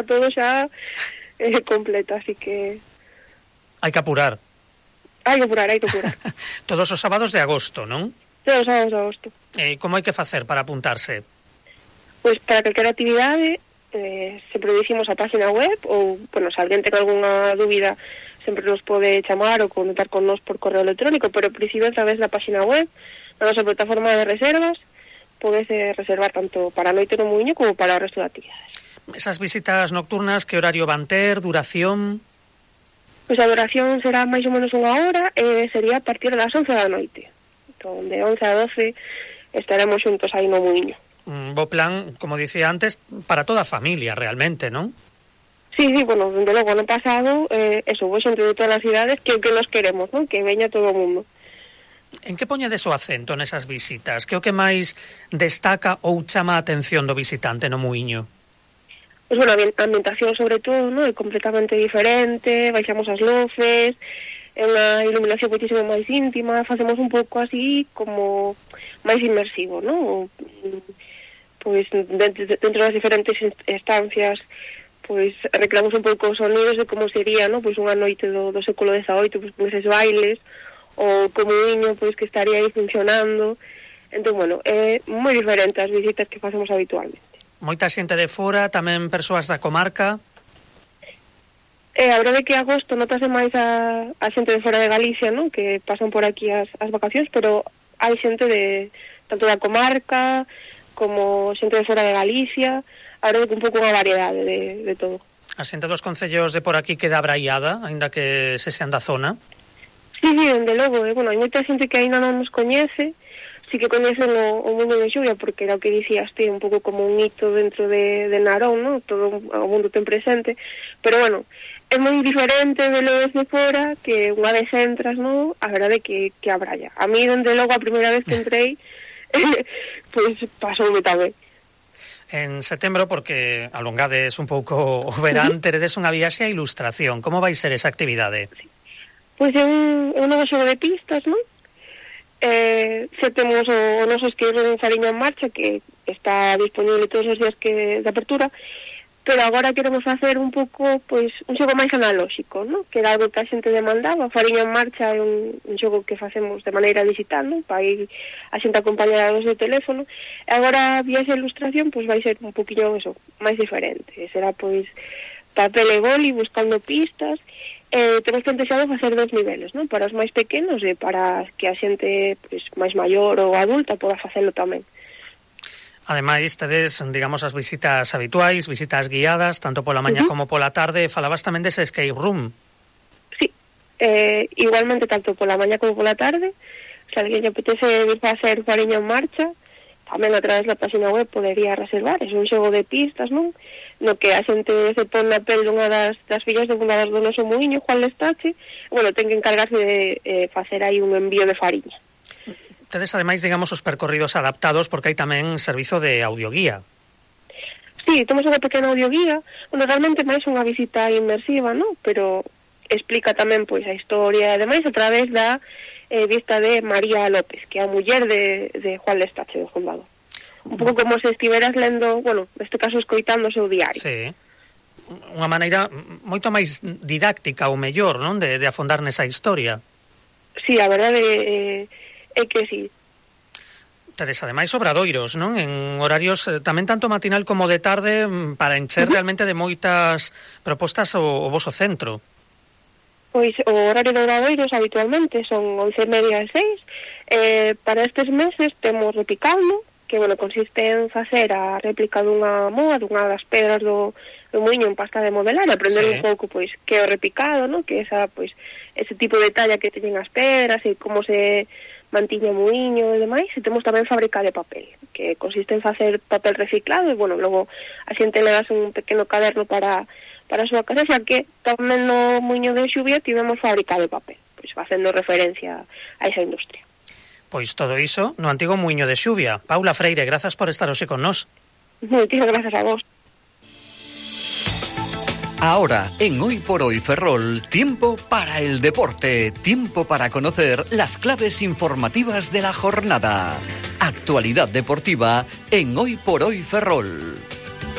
todo xa completo, así que... Hai que apurar. Hai que apurar. Todos os sábados de agosto, non? Todos os sábados de agosto. Como hai que facer para apuntarse? Pois para calquera actividade, sempre dicimos a página web, ou, bueno, se alguén ten algunha dúbida, sempre nos pode chamar ou conectar con nos por correo electrónico, pero principio a través da página web, na nosa plataforma de reservas, podese reservar tanto para a noite no Muiño como para o resto de actividades. Esas visitas nocturnas, que horario van ter, duración? Pois a duración será máis ou menos unha hora, sería a partir das 11 da noite. Entón, de 11 a 12 estaremos xuntos aí no Muiño. Un bo plan, como dicía antes, para toda a familia, realmente, non? Sí, bueno, dende logo, ano pasado, vou xente de todas as cidades que nos queremos, non? Que veña todo o mundo. En que poñedes o acento nesas visitas? Que o que máis destaca ou chama a atención do visitante no Muiño? Pois, bueno, a ambientación, sobre todo, non? É completamente diferente, baixamos as luces, é unha iluminación moitísimo máis íntima, facemos un pouco así como máis inmersivo, non? Pois dentro das diferentes estancias, pois recreamos un pouco os sonidos de como sería, non? Pois unha noite do século XVIII, pois con eses bailes, ou como Muiño, pois que estaría aí funcionando. Entón, bueno, é moi diferente as visitas que facemos habitualmente. Moita xente de fora, tamén persoas da comarca? A verdade é que agosto notase máis a xente de fora de Galicia, non? Que pasan por aquí as vacacións, pero hai xente tanto da comarca como xente de fora de Galicia. A verdade é que un pouco unha variedade de todo. A xente dos concellos de por aquí queda abraiada, aínda que se sean da zona? Sí, dende logo, bueno, hai moita xente que aínda non nos coñece, sí que coñecen o Mundo de Xuvia, porque era o que dicías ti, un pouco como un hito dentro de Narón, non? Todo o mundo ten presente, pero bueno, é moi diferente de lo desde fora, que unha vez entras, non? A verdade que abralla. A mí, dende logo, a primeira vez que entrei, pois pasoume tamén. En setembro, porque alongades un pouco o verán, teredes unha viaxe a ilustración. Como vai ser esa actividade? Sí. Pois é un novo xogo de pistas, non? Se temos o noso esqueiro de Fariña en Marcha, que está disponible todos os días de apertura, pero agora queremos facer un pouco, pois, un xogo máis analóxico, non? Que era algo que a xente demandaba. Fariña en Marcha é un xogo que facemos de maneira digital, non? Para ir a xente acompañada do seu teléfono. E agora a viaxe a ilustración, pois, vai ser un poquinho eso, máis diferente. Será, pois, papel e boli, buscando pistas. Temos plantexado facer 2 niveles, non? Para os máis pequenos e para que a xente, pois, máis maior ou adulta poda facelo tamén. Ademais, tedes, digamos, as visitas habituais, visitas guiadas, tanto pola mañá como pola tarde. Falabas tamén dese escape room. Sí, igualmente tanto pola mañá como pola tarde. Se alguén lle apetece vir facer Fariña en Marcha, tamén a través da página web podería reservar. É un xogo de pistas, non? No que a xente se pon na pel dunha das fillas de unha das do noso Muiño, Juan Lestache, bueno, ten que encargarse de facer aí un envío de fariña. Tedes, ademais, digamos, os percorridos adaptados, porque hai tamén servizo de audioguía. Sí, temos unha pequena audioguía, bueno, realmente máis unha visita inmersiva, non? Pero explica tamén, pois, a historia, e demais, a través da vista de María López, que é a muller de Juan Lestache, do Condado. Un pouco como se estiveras lendo, bueno, neste caso escoitando o seu diario. Sí, unha maneira moito máis didáctica ou mellor, non? De afondar nesa historia. Sí, a verdade é que sí. Tedes, ademais, obradoiros, non? En horarios tamén tanto matinal como de tarde, para encher realmente de moitas propostas o voso centro. Pois o horario de obradoiros habitualmente son 11:30 e 6. Para estes meses temos repicando, que, bueno, consiste en facer a réplica dunha moa, dunha das pedras do Muiño en pasta de modelar, e aprender un pouco, pois, que é o repicado, non? Que esa, pois, ese tipo de talla que teñen as pedras e como se mantiña o Muiño e demais. E temos tamén fábrica de papel, que consiste en facer papel reciclado e, bueno, logo a xente le das un pequeno caderno para a súa casa, xa que tamén no Muiño de Xuvia tivemos fábrica de papel, pois facendo referencia a esa industria. Pois todo iso no antigo Muiño de Xuvia. Paula Freire, grazas por estar hoxe con nós. Moitísimas grazas a vos. Ahora, en Hoy por Hoy Ferrol, tiempo para el deporte, tiempo para conocer las claves informativas de la jornada. Actualidad deportiva en Hoy por Hoy Ferrol.